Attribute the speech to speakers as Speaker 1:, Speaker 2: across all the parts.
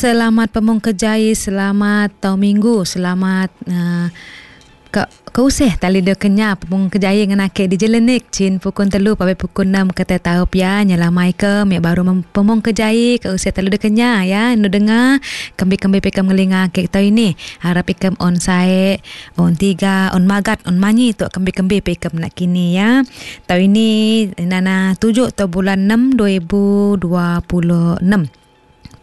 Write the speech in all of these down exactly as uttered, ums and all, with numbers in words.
Speaker 1: Selamat pemung kejai, selamat tau minggu, selamat uh, ke keuseh tali dia kenya pemung kejai dengan ake di jelenik cin pukul telu pabe pukul enam kata tahu pia nyelamai ke mek baru pemung kejai keuseh tali dia kenya ya nu dengar kembi-kembi pekam ngelinga ake tau ini harap ikam on sae on tiga on magat on manyi tu kembi-kembi pekam nak kini ya tau ini nana tujuh tau bulan enam dua ribu dua puluh enam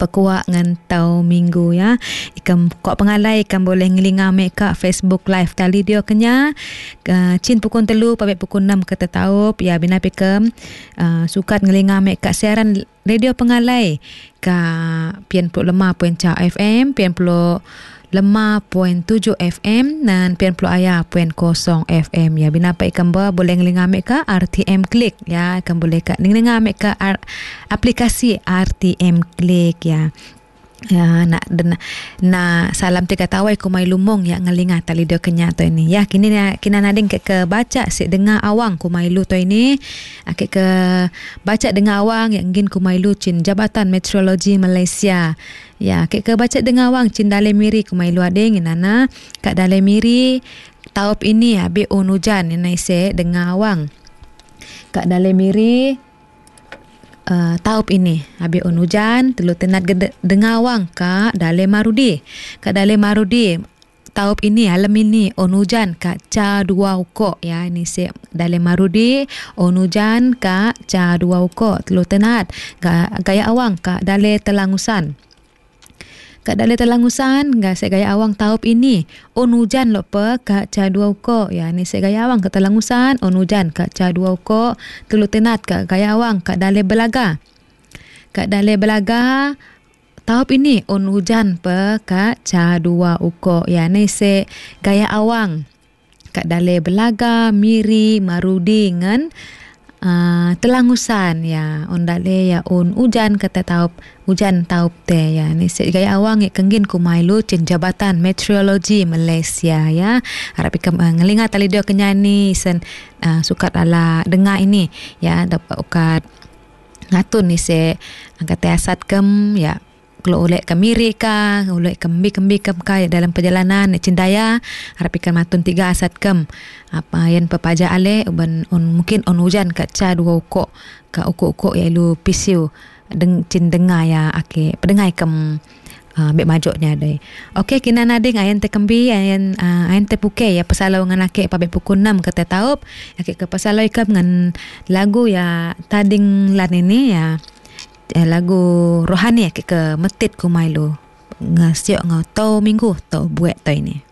Speaker 1: pekuak ngan tau minggu ya. Ikam kok pengalai ikam boleh ngelinga mek ka Facebook live tali dia kenya uh, cin pukul telu pabe pukul enam kata taup ya bina pikam uh, sukat ngelinga mek ka siaran radio pengalai ka pian puluh lima point ca F M, pian puluh lima point tujuh F M dan pian puluh ayah point kosong F M ya. Bina pa ikam ba boleh ngelinga mek ka R T M Klik ya, ikam boleh ka ngelinga mek ka R, aplikasi R T M Klik ya. Ya nak den na salam tiga tawai kumai lumong ya ngelinga tali dia kenya to ini ya. Kini na kina nading ke, ke baca sik dengar awang kumai lu to ini ake ke baca dengar awang yang ngin kumai lu cin Jabatan Meteorologi Malaysia ya. Ke ke baca dengar awang cin dale miri kumai lu ading nana kat dale miri taup ini abi on hujan ni ise dengar awang kat dale miri Uh, taup ini abi on hujan telu tenat gede, dengawang ka dale marudi ka dale marudi taup ini alam ini on hujan ka ca dua uko ya. Ini se dale marudi on hujan ka ca dua uko telu tenat ga, gaya awang ka dale telangusan ka dale telangusan ga se gaya awang taup ini on hujan lo pe ka ca dua uko ya. Ni se gaya awang ka telangusan on hujan ka ca dua uko telu tenat ka gaya awang ka dale belaga ka dale belaga taup ini on hujan pe ka ca dua uko ya. Ni se gaya awang ka dale belaga miri marudi ngan Uh, telangusan ya on dale ya on hujan kata taup hujan taup te ya. Ni se gaya awang ek kenggin kumailu cin Jabatan Meteorologi Malaysia ya. Harap ikam uh, ngelinga tali dia kenyani sen uh, sukat ala dengar ini ya dapat ukat ngatun ni se kata asat kem ya. Kalau oleh ke miri ka, oleh ke kembi-kembi kem ka ya, dalam perjalanan cindaya harap ikan matun tiga asat kem apa yang pepaja ale uban on mungkin on hujan ka ca dua ukok ka ukok-ukok ya lu pisiu deng cin dengar ya ake pedengai kem uh, bek majoknya dai. Okey kina nading ayan te kembi ayan uh, ayan te puke ya pesalau ngan ake pabe pukul enam kata taup ake ke pesalau ikam ngan lagu ya tading lan ini ya. Eh, lagu rohani ke ke metit ku mailu ngasiok ngau tau minggu tau buat tau ini.